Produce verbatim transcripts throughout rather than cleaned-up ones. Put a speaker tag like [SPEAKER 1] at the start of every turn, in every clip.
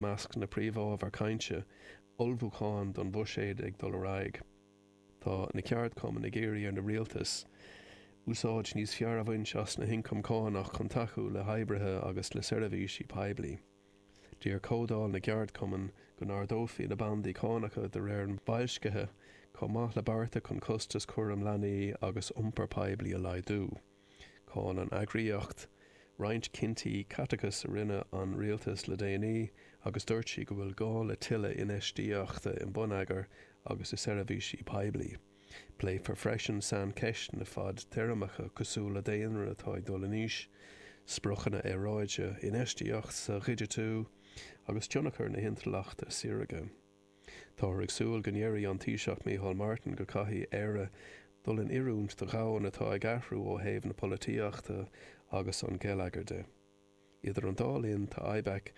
[SPEAKER 1] measc na príomhábhar cainte, ullmhúcháin don bhuiséad ag dul ar aghaidh. Tá na ceardchumainn ag iarraidh ar an rialtas úsáid níos fearr a bhaint as na hioncaim cánach chun tacú le hoibrithe agus le seirbhísí poiblí. D'iarr Comhdháil na gCeardchumann go n-ardófaí na bandaí cánacha de réir an bhoilscithe chomh maith le bearta chun costas cúram leanaí agus iompar poiblí a laghdú. Cháin an eagraíocht roinnt cinntí caiteachais a rinne an rialtas le déanaí agus dúirt sí go bhfuil gá le tuilleadh infheistíochta i mbonneagar agus i seirbhísí poiblí. Pléifear freisin saincheisteanna fadtéarmacha cosúil le daonra atá ag dul in aois, spriocanna aeráide, infheistíocht sa digitiú agus tionchar na hintleachta saorga. Táthar ag súil go ndéarfaidh an Taoiseach Micheál Martin go gcaithfidh Éire dul in oiriúint do dhomhan atá ag athrú ó thaobh na polaitíochta agus an gheilleagair de. Idir an dá linn tá IBEC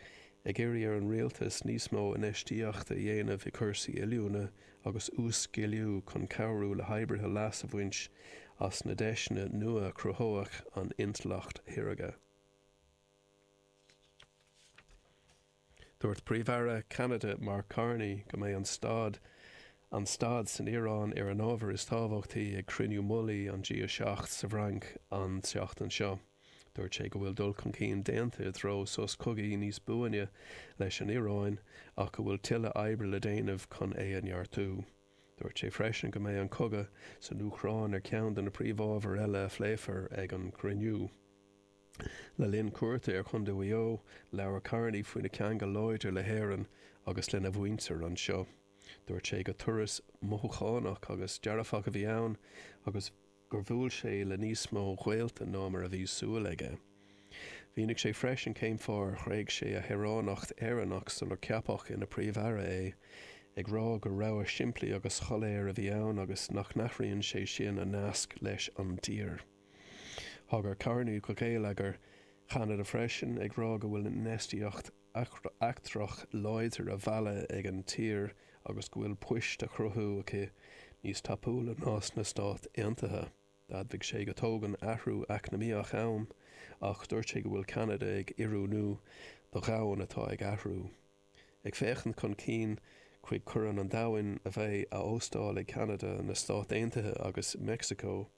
[SPEAKER 1] ag iarraidh ar an rialtas níos mó infheistíochta a dhéanamh i cúrsaí oiliúna agus uas-sciliú chun cabhrú le hoibrithe leas a bhaint as na deiseanna nua a chruthóidh an intleacht shaorga. Dúirt Príomh-Aire Cheanada Mark Carney go mbeidh an staid an staid san Iaráin ar an ábhar is tábhachtaí ag cruinniú mullaigh an G a seacht sa bhFrainc an tseachtain seo. Dúirt sé go bhfuil dul chun cinn déanta i dtreo sos cogaidh níos buaine leis an Iaráin ach go bhfuil tuilleadh oibre le déanamh chun é a neartú. Dúirt sé freisin go mbeidh an cogadh san Úcráin ar cheann de na príomhábhair eile a phléifear ag an gcruinniú. Le linn cuairte ar Chontae Mhaigh Eo, labhair Carney faoina cheangal láidir le hÉirinn agus lena mhuintir anseo. Dúirt sé gur turas mothúchánach agus dearfach a bhí ann agus gur bhuail sé le níos mó gaolta ná mar a bhí súil aige. Mhínigh sé freisin cén fáth ar thréig sé a shaoránacht Éireannach sular ceapadh ina Phríomh-Aire é, ag rá gur rogha simplí agus shoiléir a bhí ann agus nach n-athraíonn sé sin a nasc leis an dtír. Thagair Carney do gheilleagar Cheanada freisin, ag rá go bhfuil infheistíocht eachtrach láidir á mhealladh ag an tír agus go bhfuil poist á chruthú aici níos tapúla ná sna Stáit Aontaithe. D'admhaigh sé go dtógann athrú eacnamaíoch am, ach dúirt sé go bhfuil Ceanada ag oiriúnú do dhomhan atá ag athrú. Ag féachaint chun cinn chuig Corn an Domhain a bheidh á óstáil ag Ceanada, na Stáit Aontaithe agus Meicsiceo,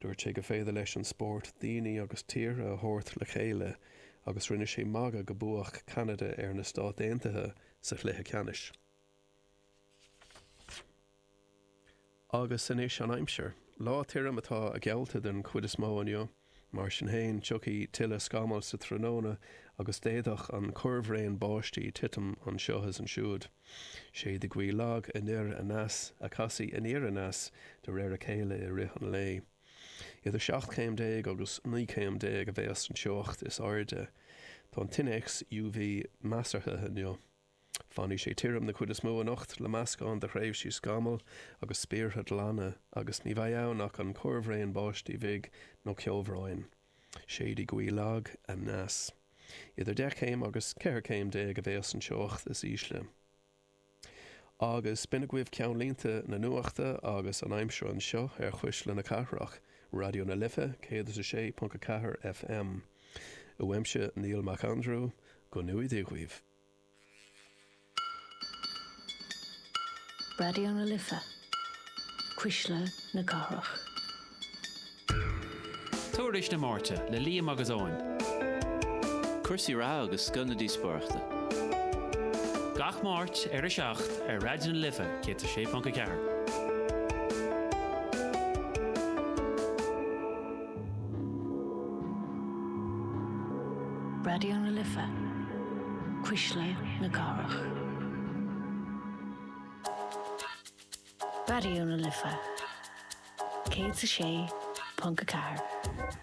[SPEAKER 1] dúirt sé gur féidir leis an spórt daoine agus tíortha a thabhairt le chéile agus rinne sé magadh go mbuafadh Ceanada ar na Stáit Aontaithe sa chluiche ceannais. Agus anois an aimsir. Lá tirim atá geallta den chuid is mó inniu. Mar sin féin, tiocfaidh tuilleadh scamall sa tráthnóna agus d'fhéadfadh an corrbhraon báistí titim anseo is ansiúd. Séidfidh gaoth lag anoir aneas a chasfaidh aniar aneas de réir a chéile i rith an lae. Idir seacht chéim déag agus naoi céim déag a bheas an teocht is airde. Tá an t-innéacs U V measartha inniu. Fanfaidh sé tirim den chuid is mó anocht le meascán de thréimhsí scamall agus spéartha glana agus ní bheidh ann ach an corrbhraon báistí bhig nó ceobhráin. Séidfidh gaoth lag aneas. Idir deich céim agus ceithre céim déag a bheas an teocht is ísle. Agus b'in agaibh ceannlínte na nuachta agus an aimsir anseo ar Chuisle na Cathrach, Raidió na Life céad is a sé ponc a ceathair F M. Uaimse Niall Mac Aindriú, go ngnóthaí Dia dhaoibh.
[SPEAKER 2] Raidió na Life, Cuisle na Cathrach.
[SPEAKER 3] Tuairisc na Máirte le Liam agus Eoin.
[SPEAKER 4] Cúrsaí reatha agus scoth na díospóireachta.
[SPEAKER 3] Gach Máirt ar a seacht ar Raidió na Life céad a sé ponc a ceathair.
[SPEAKER 2] Raidió na Life, Cuisle na Cathrach. Raidió na Life, céad a sé ponc a ceathair.